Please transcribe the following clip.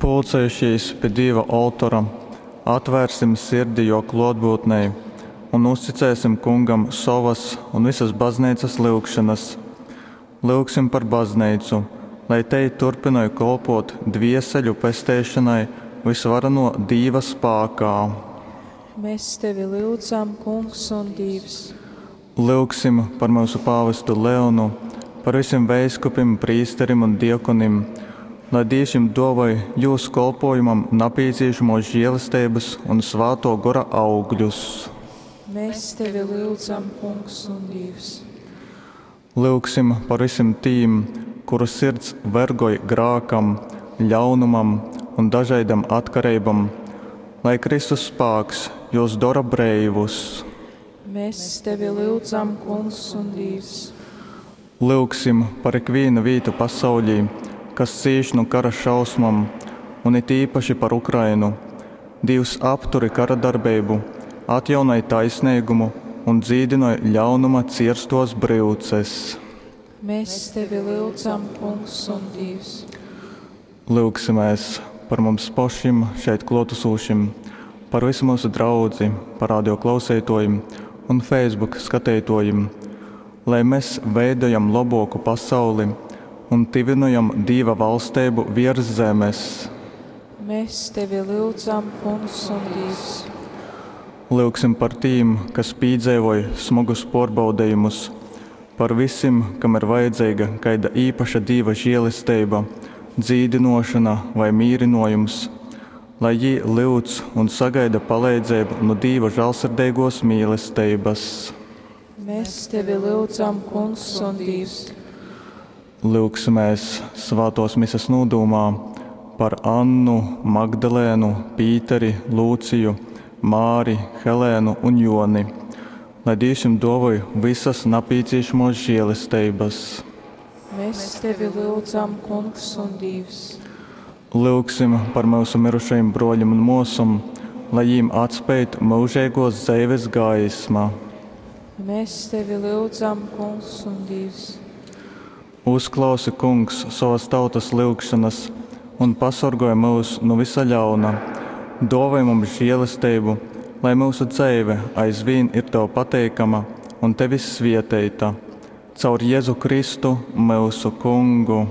Pulcejušīs pi Dīva oltora, atvērsim sirdi Jō klōtbyutnei un uzticēsim Kungam sovas un vysas Bazneicas lyugšonas. Lyugsim par Bazneicu, lai tei turpynoj kolpōt dvieseļu pesteišonai vysvarenō Dīva spākā. Mēs tevi lyudzam, Kungs un Dīvs. Lyugsim par myusu pāvestu Leonu, par vysim veiskupim, prīsterim un diakonim, lai Dīvs jim dōvoj jūs kolpōjumam napīcīšamōs želesteibas un Svātō Gora augļus. Mēs tevi lyudzam, Kungs un Dīvs. Lyugsim par vysim tīm, kuru sirds vergoj grākam, ļaunumam un dažaidom atkareibom, lai Kristus spāks jūs dora breivus. Mēs tevi lyudzam, Kungs un Dīvs. Lyugsim par ikvīnu vītu pasauļī, kas cīš nu kara šausmom, un it īpaši par Ukrainu. Dīvs, apturi karadarbeibu, atjaunoj taisneigumu un dzīdynoj ļaunuma cierstōs bryuces. Mēs tevi lyudzam, Kungs un Dīvs. Lyugsimēs par mums pošim šeit klōtasūšim, par visu myusu draudzi, par radio klauseitōjim un Facebook skateitōjim, lai mes veidojam lobōku pasauli un tyvynojam Dīva valsteibu viers zemes. Mēs tevi lyudzam, Kungs un Dīvs. Lyugsim par tīm, kas pīdzeivoj smogus pōrbaudejumus, par vysim, kam ir vajadzeiga kaida īpaša Dīva žielesteiba, dzīdynōšona vai mīrynōjums, lai jī lyudz un sagaida paleidzeibu nu Dīva žālsirdeigōs mīlesteibas. Mēs tevi lyudzam, Kungs un Dīvs. Lyugsimēs svātōs mises nūdūmā par Annu, Magdalēnu, Pīteri, Lūciju, Māri, Helēnu un Joni, lai Dīvs jim dōvoj vysas napīcīšamōs žielesteibas. Mēs tevi lyudzam, Kungs un Dīvs. Lyugsim par myusu mirušajim brōļim un mōsom, lai jīm atspeid myužeigōs dzeives gaisma. Mēs tevi lyudzam, Kungs un Dīvs. Uzklausi, Kungs, sovas tautas lyugšonas un pasorgoj myus nu vysa ļauna. Dōvoj mums želesteibu, lai myusu dzeive aizvīn ir Tev pateikama un Tevis svieteita. Caur Jezu Kristu, myusu Kungu.